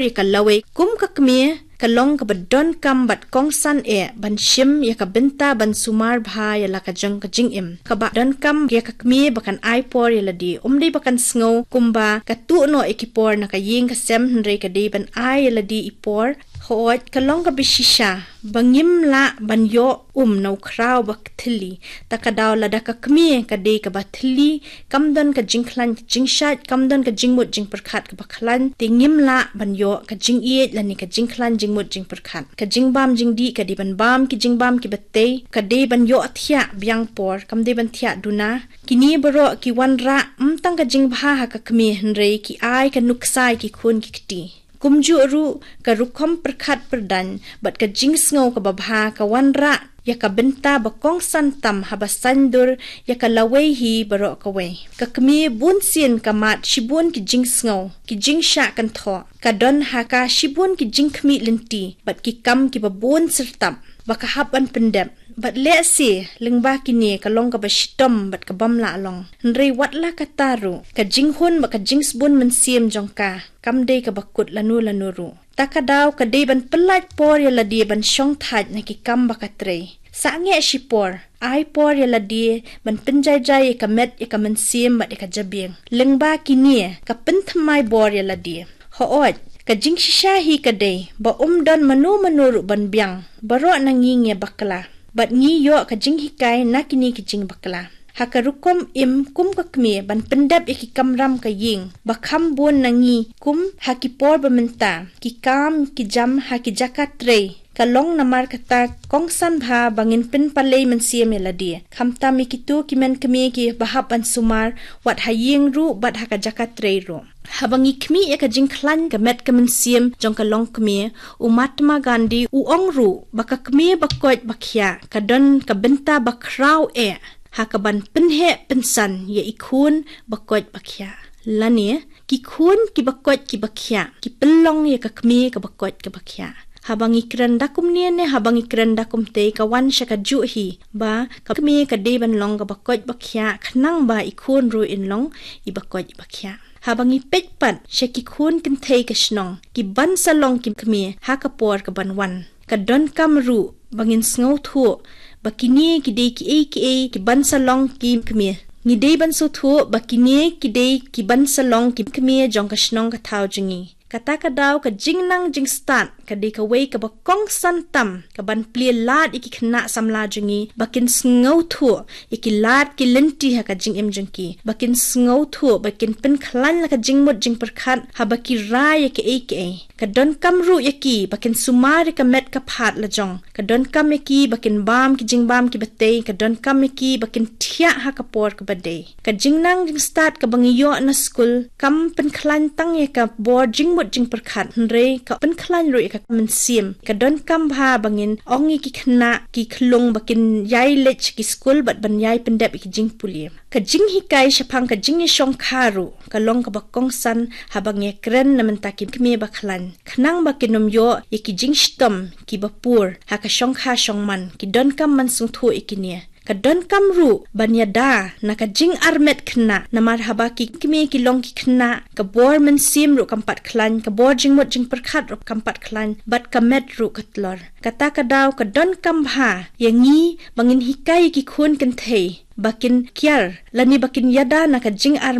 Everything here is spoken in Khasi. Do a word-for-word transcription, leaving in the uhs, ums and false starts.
ïa ka lawei. Kum ka kmie, ka long kaba donkam bad kongsan eh ban shim ïa ka bynta ban sumar bha ïa la ka jong ka jingim. Kaba donkam ïa ka kmie ba kan ai por ïa lade. Um dei ba kan sngew kumba ka tuh noh ïa ki por na ka ïing ka sem, hynrei ka dei ban ai ïa lade i por. Hooid, ka long kaba shisha ba ngim lah ban ïoh um na u khraw ba thylli. Ta ka daw lada ka kmie ka dei kaba thylli, kam don ka jingkhlaiñ ka jingshait, kam don ka jingmut jingpyrkhat kaba khlaiñ, te ngim lah ban ïoh ka jingïeit lane ka jingkhlaiñ jingmut jingpyrkhat. Ka jingbam jingdih ka dei ban bam ki jingbam kiba tei, ka dei ban ïoh thiah biang por, kam dei ban thiah duna. Kine baroh ki wanrah ym tang ka jingbha ha ka kmie, hynrei ki ai ka nuksa ïa ki khun ki kti. Kumjuh ruh ka rukom pyrkhat pyrdaiñ bad ka jingsngew kaba bha ka wanrah ïa ka bynta ba kongsan tam haba saiñdur ïa ka lawei hi baroh kawei. Ka kmie bunsien ka mad shibun ki jingsngew, ki jingshah kynthoh. Ka don ha ka shibun ki jingkhmih lynti bad ki kam kiba bun syrtap ba ka hap ban pyndep. Bad lehse lyngba kine ka long kaba shitom bad ka bym lah long. Hynrei wat la katta ruh, ka jinghun bad ka jingsbun mynsiem jong ka kam dei kaba kut lano lano ruh. Ta ka daw ka dei ban pyllait por ïa lade ban shongthait na ki kam ba ka trei. Sangeh shipor, ai por ïa lade ban pynjaijai ïa ka met ïa ka mynsiem bad ïa ka jabieng. Lyngba kine ka pynthymmai bor ïa lade. Hooid, ka jingshisha hi ka dei ba um don mano mano ruh ban biang. Baroh na ngi ngi bakla bad ngi ïoh ka jinghikai na kine ki jingbakla. Ha ka rukom im kum ka kmie ban pyndep ïa ki kamram ka ïing ba kham bun na ngi kum ha ki por ba mynta, ki kam ki jam ha ki jaka trei. Ka long namar kata kongsan bha ba ngin pynpalei mynsiem ïa lade. Khamtam ïa kito ki men kmie kiba hap ban sumar, wat ha ïing ruh bad ha ka jaka trei ruh. Haba ngi khmih ïa ka jingkhlaiñ ka met ka mynsiem jong ka longkmie, u Mahatma Gandhi u ong ruh ba ka kmie ba koit ba khiah ka don ka bynta ba khraw eh ha kaban pynheh pynsan ïa i khun ba koit ba khiah. Lane ki khun kiba koit kiba khiah ki pynlong ïa ka kmie kaba koit kaba khiah. Haba ngi kren da kumne ne haba ngi kren da kumtei, ka wan sha kajuh hi ba ka kmie ka dei ban long kaba koit ba khiah, khnang ba i khun ruh in long iba koit iba khiah. Haba ngi peit pat sha ki khun kynthei ka shnong kiban sa long ki kmie ha ka por kaban wan, ka donkam ruh ba ngin sngewthuh ba kine ki dei kiei kiei kiban sa long ki kmie. Ngi dei ban sngewthuh ba kine ki dei kiban sa long ki kmie jong ka shnong ka thaw jong ngi. Kata ka daw ka jingnang jingstad ka dei kawei kaba kongsan tam kaban plie lad ïa ki khynnah samla jong ngi ba kin sngewthuh ïa ki lad ki lynti ha ka jingim jong ki, ba kin sngewthuh, ba kin pynkhlaiñ la ka jingmut jingpyrkhat haba ki rai ïa kiei kiei. Ka donkam ruh ïa ki ba kin sumar ïa ka met ka phad la jong. Ka donkam ïa ki ba kin bam ki jingbam kiba tei, ka donkam ïa ki ba kin thiah ha ka por kaba dei. Ka jingnang jingstad kaba ngi ïoh na skul kam pynkhlaiñ tang ïa ka bor jingmut jingpyrkhat, hynrei ka pynkhlaiñ ruh ïa ka mynsiem. Ka donkam bha ba ngin ong ïa ki khynnah ki khyllung ba kin ïai leit sha ki skul bad ban ïai pyndep ïa ki jingpule. Ka jinghikai shaphang ka jingïashongkha ruh ka long kaba kongsan haba ngi kren na mynta ki kmie ba khlaiñ, khnang ba kin ym ïoh ïa ki jingshitom kiba pur ha ka shongkha shongman. Ki donkam ban sngewthuh ïa kine. Ka donkam ruh ban ïada na ka jingarmet khynnah, namar haba ki kmie ki long ki khynnah, ka bor mynsiem ruh kam pat khlaiñ, ka bor jingmut jingpyrkhat ruh kam pat khlaiñ, bad ka met ruh ka tlor. Kata ka daw ka donkam bha ïa ngi ba ngin hikai ïa ki khun kynthei ba kin kiar lane ba kin ïada na ka jingarmet